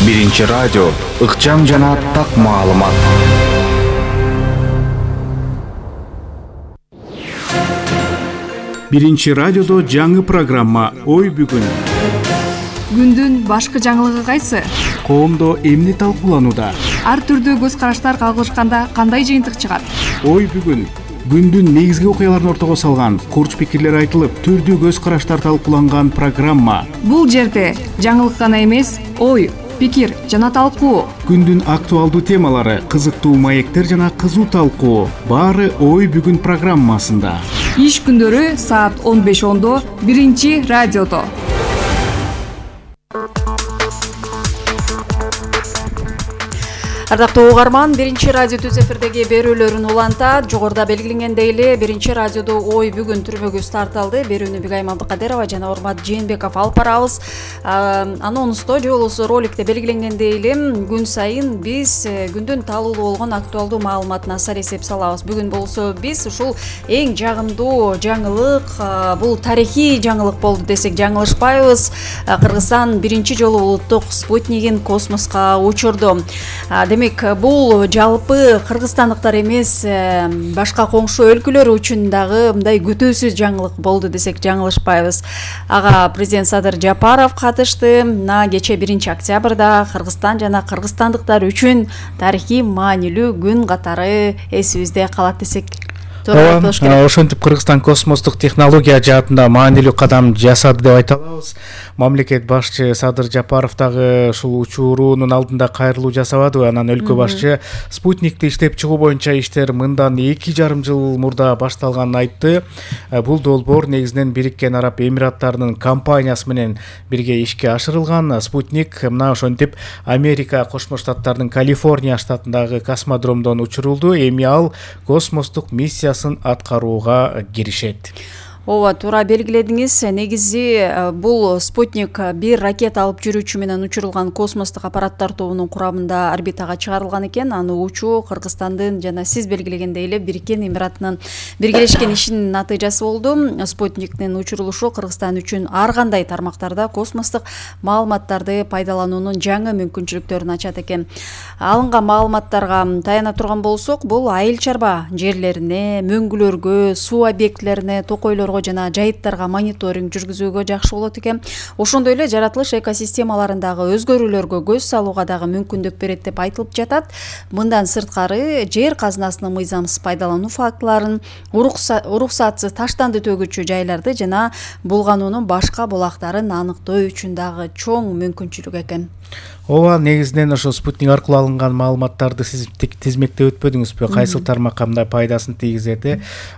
Биринчи радио ыкчам жана так маалымат. Биринчи радиодо жаңы программа Ой бүгүн. Күндүн башкы жаңылыгы кайсы? Коомдо эмне талкууланууда? Ар түрдүү көз караштар кагылышканда кандай жыйынтык чыгат? Ой бүгүн. Күндүн негизги окуяларын ортого салган, курч пикирлер айтылып, түрдүү көз караштар талкууланган программа. Бул жерде жаңылык гана эмес, ой, пикир жана талкуу. Күндүн актуалдуу темалары, кызыктуу маектер жана кызуу талкуу. Баары Ой бүгүн программасында. Иш күндөрү саат 15:10 Биринчи радиодо. Ардактуу угарман, Биринчи радио түз эфирдеги берүүлөрүн улантат. Жогоруда белгиленгендей эле Биринчи радиодо Ой бүгүн түрмөгүбүз тартталды. Берүүнү Бигайым Абдыкадырова жана Урмат Жээнбеков алып барабыз. Анонсто же болбосо роликте белгиленгендей эле күн сайын биз күндүн талуулуу болгон актуалдуу маалыматына сар эсеп салабыз. Бүгүн болсо биз ушул эң жагымдуу жаңылык, бул тарыхый жаңылык болду десек жаңылышпайбыз. Кыргызстан биринчи жолу улуттук спутнигин космоско учурду. Демек, бул жалпы кыргызстандыктар эмес, башка коңшу өлкөлөр үчүн дагы мындай күтүүсүз жаңылык болду десек жаңылышпайбыз. Ага президент Садыр Жапаров катышты. Кече 1 октябрда Кыргызстан жана кыргызстандыктар үчүн тарыхый маанилүү күн катары эсибизде калат десек ошентип Кыргызстан космостук технология жаатында маанилүү кадам жасады деп айта алабыз. Мамлекет башчы Садыр Жапаров дагы ушул учуруунун алдында кайрылуу жасабадыбы? Анан өлкө башчы спутникти иштеп чыгуу боюнча иштер мындан 2,5 жыл мурда башталганын айтты. Бул долбоор негизинен Бириккен Араб Эмираттарынын компаниясы менен бирге ишке ашырылган. Спутник мына ошентип Америка Кошмо Штаттарынын Калифорния штатындагы космодромдон учурулду. Эми ал космостук миссиясын аткарууга киришет. Ооба, туура белгиледиңиз. Негизи бул спутник бир ракета алып жүрүүчү менен учурулган космостук аппараттар тобунун курамында орбитага чыгарылган экен. Аны учуу Кыргызстандын жана сиз белгилегендей эле Бириккен Эмираттарынын биргелешкен ишинин натыйжасы болду. Спутниктин учурулушу Кыргызстан үчүн ар кандай тармактарда космостук маалыматтарды пайдалануунун жаңы мүмкүнчүлүктөрүн ачат экен. Алынган маалыматтарга таяна турган болсок, бул айыл чарба жерлерине, мөңгүлөргө, суу объектилерине, токойлорго жана жайыттарга мониторинг жүргүзүүгө жакшы болот экен. Ошондой эле жаратылыш экосистемаларындагы өзгөрүүлөргө көз салууга дагы мүмкүндүк берет деп айтылып жатат. Мындан сырткары жер казынасынын мыйзамсыз пайдалануу фактыларын, уруксатсыз таштанды төгүүчү жайларды жана булгануунун башка булактарын аныктоо үчүн дагы чоң мүмкүнчүлүк экен. Ооба, негизинен ошо спутник аркылуу алынган маалыматтарды сиз тизмектеп өтпөдүңүзбү? Кайсыл тармакка мындай пайдасын тийгизет?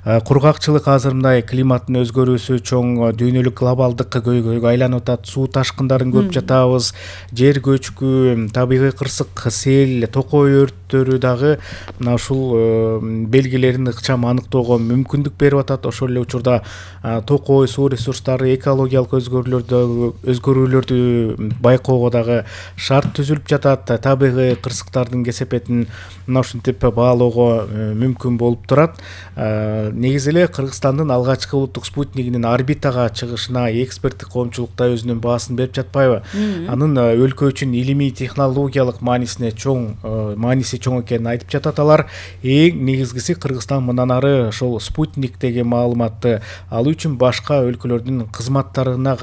Кургакчылык азыр мындай климаттын өзгөрүүсү чоң дүйнөлүк глобалдык көйгөйгө айланып атат. Суу ташкындарын көп жатабыз. Жер көчкү, табигый кырсык, сел, токой өрттөрү дагы мына ушул белгилерин ыкчам аныктоого мүмкүндүк берип атат. Ошол эле учурда токой, суу ресурстары, экологиялык өзгөрүүлөрдү байкоого дагы түзүлүп жатат. Табигый кырсыктардын кесепетин мына ушинтип баалоого мүмкүн болуп турат. Негизи эле Кыргызстандын алгачкы улуттук спутнигинин орбитага чыгышына эксперттик коомчулукта өзүнүн баасын берип жатпайбы? Анын өлкө үчүн илимий технологиялык мааниси чоң экенин айтып жатат алар. Эң негизгиси Кыргызстан мындан ары ошол спутниктеги маалыматты алуу үчүн башка өлкөлөрдүн кызматтарына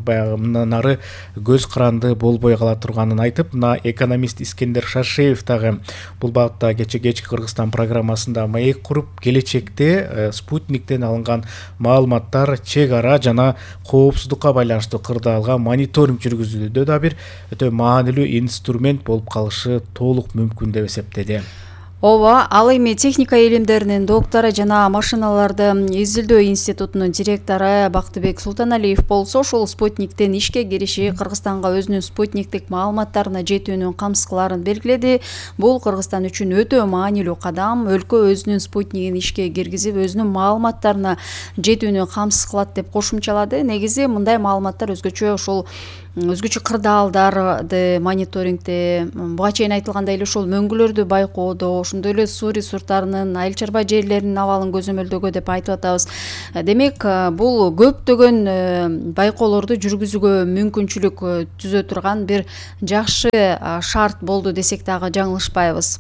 баягы мындан ары көз каранды болбой кала турганын айтып, мына экономист Искендер Шашеев дагы бул багытта кечки Кыргызстан программасында маек куруп, келечекте спутниктен алынган маалыматтар чек ара жана коопсуздукка байланыштуу кырдаалга мониторинг жүргүзүүдө да бир өтө маанилүү инструмент болуп калышы толук мүмкүн деп эсептеди. Ооба, ал эми техника илимдеринин доктору жана машиналарды изилдөө институтунун директору Бактыбек Султаналиев болсо, ошол спутниктен ишке кириши Кыргызстанга өзүнүн спутниктик маалыматтарына жетүүнүн камсыз кыларын белгиледи. Бул Кыргызстан үчүн өтө маанилүү кадам. Өлкө өзүнүн спутнигин ишке киргизип, өзүнүн маалыматтарына жетүүнү камсыз кылат деп кошумчалады. Негизи мындай маалыматтар өзгөчө ошол өзгөчө кырдаалдарды мониторингде буга чейин айтылгандай эле ошол мөңгүлөрдү байкоодо, ошондой эле суу ресурстарынын, айыл чарба жерлеринин абалын көзөмөлдөгө деп айтып атабыз. Демек, бул көптөгөн байкоолорду жүргүзүүгө мүмкүнчүлүк түзө турган бир жакшы шарт болду десек дагы жаңылышпайбыз.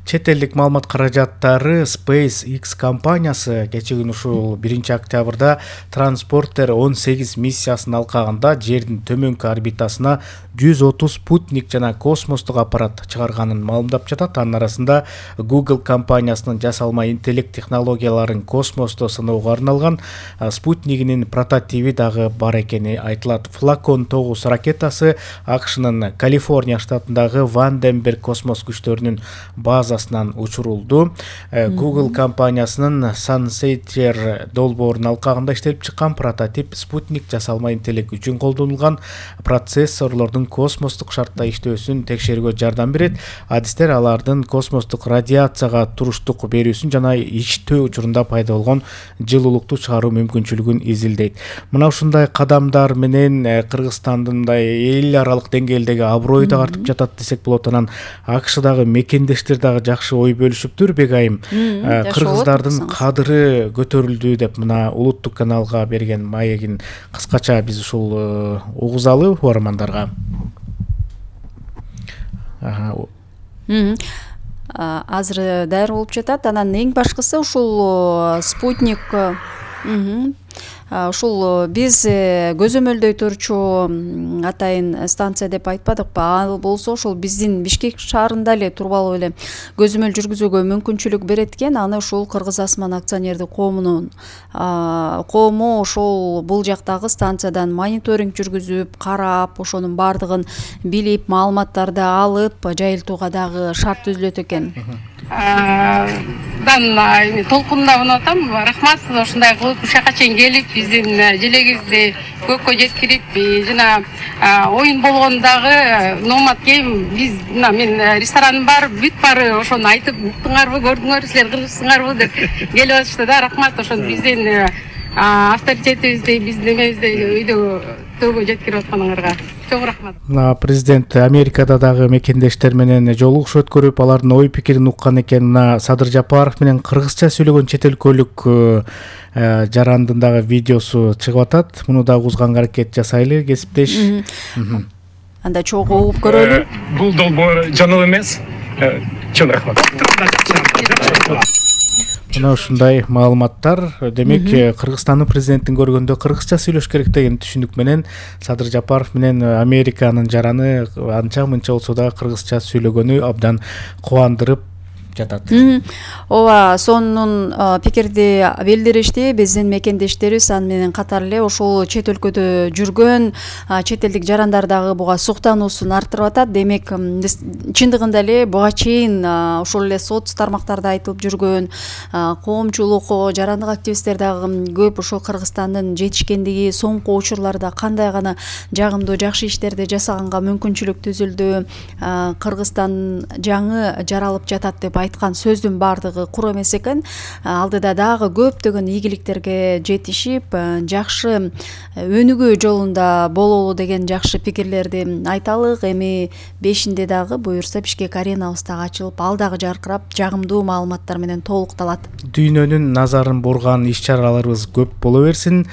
Чет элдик маалымат каражаттары SpaceX компаниясы кечээ күнү ушул 1-октябрда Transporter 18 миссиясын алкагында жердин төмөнкү орбитасына 130 спутник жана космостук аппарат чыгарганын маалымдап жатат. Анын арасында Google компаниясынын жасалма интеллект технологияларын космосто сыноого арналган спутнигинин прототиби дагы бар экени айтылат. Falcon 9 ракетасы АКШнын Калифорния штатындагы Ванденберг космос күчтөрүнүн базасынан учурулду. Google компаниясынын Sunseeker долбоорунун алкагында иштелип чыккан прототип спутник жасалма интеллект үчүн колдонулган процессорлордун космостук шартта иштөөсүн текшергө жардам берет. Адистер алардын космостук радиацияга туруштук берүүсүн жана иштөө учурунда пайда болгон жылуулукту чыгаруу мүмкүнчүлүгүн изилдейт. Мына ушундай кадамдар менен Кыргызстандын мындай эл аралык деңгээлдеги аброю да артып жатат десек болот. Анан АКШдагы мекендештер дагы жакшы ой бөлүшүптүр. Бегайым, кыргыздардын кадыры көтөрүлдү деп мына улуттук каналга берген маегин кыскача биз ушул угузалы угармандарга. Азыр даяр болуп жатат. Анан эң башкысы ушул спутник ушул биз көзөмөлдөй турчу атайын станция деп айтпадыкпы? Ал болсо ошол биздин Бишкек шаарында эле туруп алып эле көзөмөл жүргүзүүгө мүмкүнчүлүк берет экен. Аны ушул Кыргыз Асман акционердик коомунун коому ошол бул жактагы станциядан мониторинг жүргүзүп, карап, ошонун баардыгын билип, маалыматтарды алып, жайылтууга дагы шарт түзүлөт экен. Толкунда мына атам, рахмат, ушундай кылып ушул жака чейин келип, биздин желегибизди көккө жеткирип, жана оюн болгондагы номад кийим биз мына мен рестораным бар, бүт баары ошону айтып, уктуңарбы, көрдүңөр, силер кыргызсыңарбы деп келип атышты да. Рахмат, ошол биздин авторитетибизди, биздин эмебизди өйдөгө жеткирип атканыңарга чоң рахмат. Президент Америкада дагы мекендештер менен жолугуш өткөрүп, алардын ой пикирин уккан экен. Мына Садыр Жапаров менен кыргызча сүйлөгөн чет өлкөлүк жарандын дагы видеосу чыгып атат. Муну дагы угузганга аракет жасайлы, кесиптеш. Анда чогуу угуп көрөлү. Бул долбоор жаңыл эмес. Чоң рахмат. Мына ушундай маалыматтар. Демек, Кыргызстандын президентин көргөндө кыргызча сүйлөш керек деген түшүнүк менен Садыр Жапаров менен Американын жараны анча мынча болсо да кыргызча сүйлөгөнү абдан кубандырып жатат. Ооба, сонун пикирди билдиришти биздин мекендештерибиз. Аны менен катар эле ошол чет өлкөдө жүргөн чет элдик жарандар дагы буга суктануусун арттырып атат. Демек, чындыгында эле буга чейин ошол эле соц тармактарда айтылып жүргөн коомчулук, жарандык активисттер дагы көп ошол Кыргызстандын жетишкендиги, соңку учурларда кандай гана жагымдуу жакшы иштерди жасаганга мүмкүнчүлүк түзүлдү, Кыргызстан жаңы жаралып жатат деп айткан сөздүн баардыгы кур эмес экен. Алдыда дагы көптөгөн ийгиликтерге жетишип, жакшы өнүгүү жолунда бололу деген жакшы пикирлерди айталык. Эми 5-inde дагы буюрса Бишкек аренабыз дагы ачылып, ал дагы жаркырап, жагымдуу маалыматтар менен толукталат. Дүйнөнүн назарын бурган иш-чараларыбыз көп боло берсин.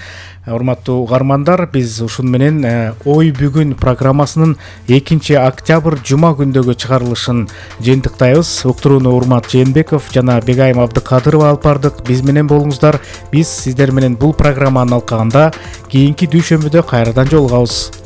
Урматтуу угармандар, биз ушун менен Ой бүгүн программасынын 2-октябрь жума күндөгү чыгарылышын жыйынтыктайбыз. Уктурууну Урмат Жээнбеков жана Бегайым Абдыкадырова алып бардык. Биз менен болуңуздар. Биз сиздер менен бул программанын алкагында кийинки дүйшөмбүдө кайрадан жолугабыз.